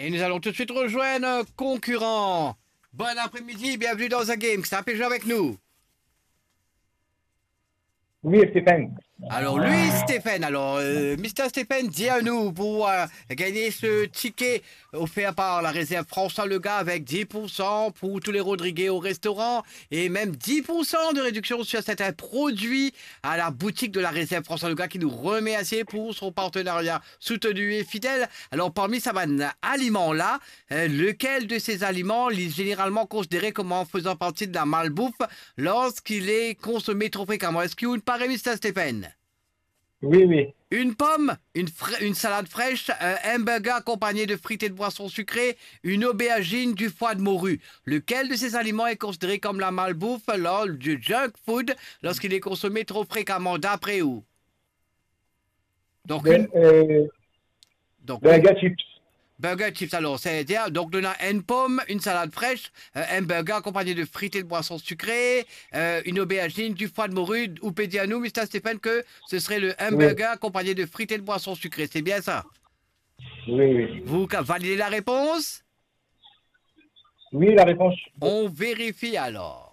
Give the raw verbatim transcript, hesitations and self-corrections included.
Nous allons tout de suite rejoindre un concurrent. Bon après-midi, bienvenue dans The Game. Ki sa pe zwe avek nou? Wi, Stéphane. Alors lui, Stéphane, alors euh, Mister Stéphane, dis à nous pour euh, gagner ce ticket offert par la réserve François Lega avec dix pour cent pour tous les Rodriguais au restaurant et même dix pour cent de réduction sur certains produits à la boutique de la réserve François Lega qui nous remercie pour son partenariat soutenu et fidèle. Alors parmi sa bann aliman la, euh, lequel de ces aliments est généralement considéré comme en faisant partie de la malbouffe lorsqu'il est consommé trop fréquemment? Eski ou pare, Mister Stéphane? Oui, oui. Une pomme, une, fra- une salade fraîche, un hamburger accompagné de frites et de boissons sucrées, une aubergine, du foie de morue. Lequel de ces aliments est considéré comme la malbouffe, lors du junk food, lorsqu'il est consommé trop fréquemment, d'après vous? Donc, Ben, une, euh, donc, burger chips. Burger chips, alors, c'est-à-dire, donc, on a une pomme, une salade fraîche, euh, un burger accompagné de frites et de boissons sucrées, euh, une aubergine, du foie de morue. Ou peut dire à nous, Mister Stéphane, que ce serait le hamburger accompagné de frites et de boissons sucrées. C'est bien ça? Oui, oui. Vous ca- validez la réponse? Oui, la réponse. On vérifie alors.